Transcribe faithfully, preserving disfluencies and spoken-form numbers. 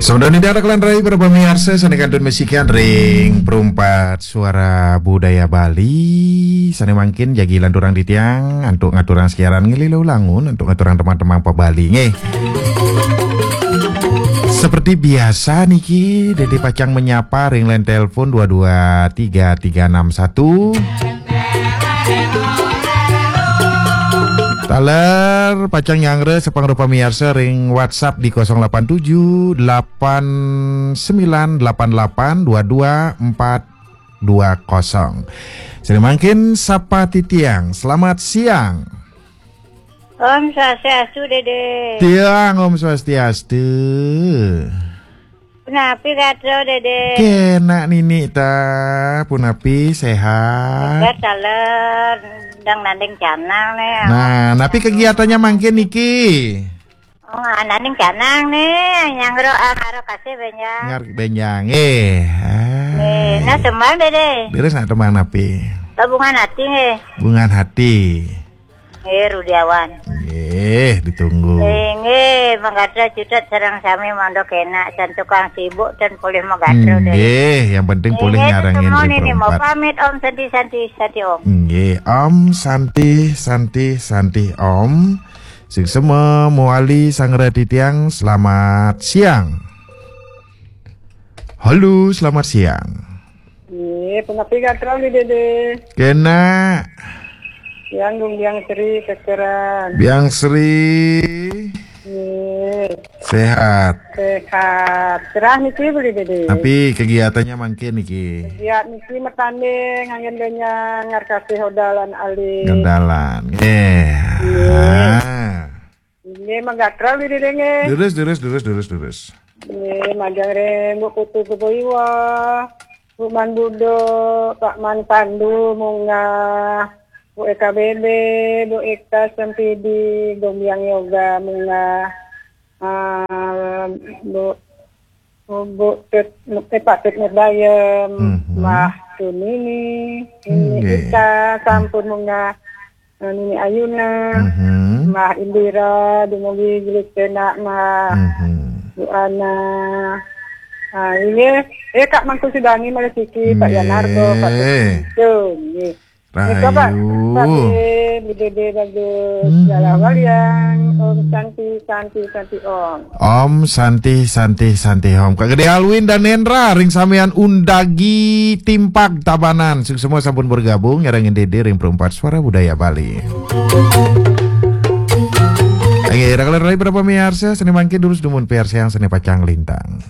Sampun niki adakan rai para pamiarsa sané kantun masikian ring Perumpat Suara Budaya Bali. Sané mangkin jagi lanturang titiang antuk ngaturang siaran ngilu-ilu langun antuk ngaturang teman-teman pa Bali nggih. Seperti biasa niki, Dédé pacang menyapa ring line telepon dua dua tiga tiga enam satu. Taler pacang nyanggra sapangrupa miarsa ring WhatsApp di kosong delapan tujuh delapan sembilan delapan delapan dua dua empat dua kosong. Sané mangkin sapa titiang. Selamat siang. Om Swastiastu, Dédé. Tiang Om Swastiastu. Punapi gatra, Dédé? Kénak nini ta, punapi séhat. Séhat, taler, dang nanding canang né. Nah, napi kegiatannya mangkin niki? Oh, nanding canang né, nyanggra angara kasih benjang. Ngar benjang, eh. Nggih, nah tembang, Dédé. Leres nak tembang napi? Bungan hati nggih. Bungan hati. Nggih, Rudiawan. Nggih, ditunggu. Nggih, nggih, magatra cutet sareng sami mangda kénak, san tukang sibuk tan polih magatra, Dédé. Nggih, yang penting polih nyarengin semua di nini mau Perumpat. Pamit, Om Santi, Santi, Santi, Om. Nggih, Om Santi, Santi, Santi, Om. Suksma mawali sanggra titiang, selamat siang. Halo, selamat siang. Nggih, punapi gatra Uli Dédé? Kénak. Yang Gung Biang Sri kekeran. Biang Sri. Nggih. Séhat. Séhat. Cerah niki Uli Dédé. Tapi kegiatannya mangkin niki. Kegiatan niki matanding, angin lenyang, ngarkasih odalan alit. Gandalan. Nggih. Nggih. Ah. Nggih, magatra Uli Dédé nggih. Durus, durus, durus, durus, durus. Nggih, majeng ring Bu Putu Kubuiwa, Bu Man Budo, Pak Man Pandu, munggah, Bu Eka Bebe, Bu Eka Sempidi, Gombiang Yoga, munggah, ah, Bu, Bu Tut, eh, Pak Tut Nurbayem, Mhm. Mbah Tunini, Nini Nggih. Ika, sampun munggah, eh, Nini Ayuna, Mhm. Mbah Indira, dumugi gelis pénak, Mbah. Mhm. Bu Ana. Ah, nggih. Eh, Kak Mangku Sudani, malih siki, Pak Yanarto, Pak Nggih. Tuh, nggih. Nggih, Pak. Rahayu. Pak, eh, Bu Dédé bagus. Mhm. Dalah walian. Om Santi, Santi, Santi, Om. Om Santi, Santi, Santi, Om. Kak Gedé Alwin dan Nendra, ring samian Undagi Timpak Tabanan. Suksma sampun bergabung, nyarengin Dédé ring Perumpat Suara Budaya Bali. Nggih, rakalan rai para pamiarsa, sané mangkin durus dumun piarsayang sané pacang lintang.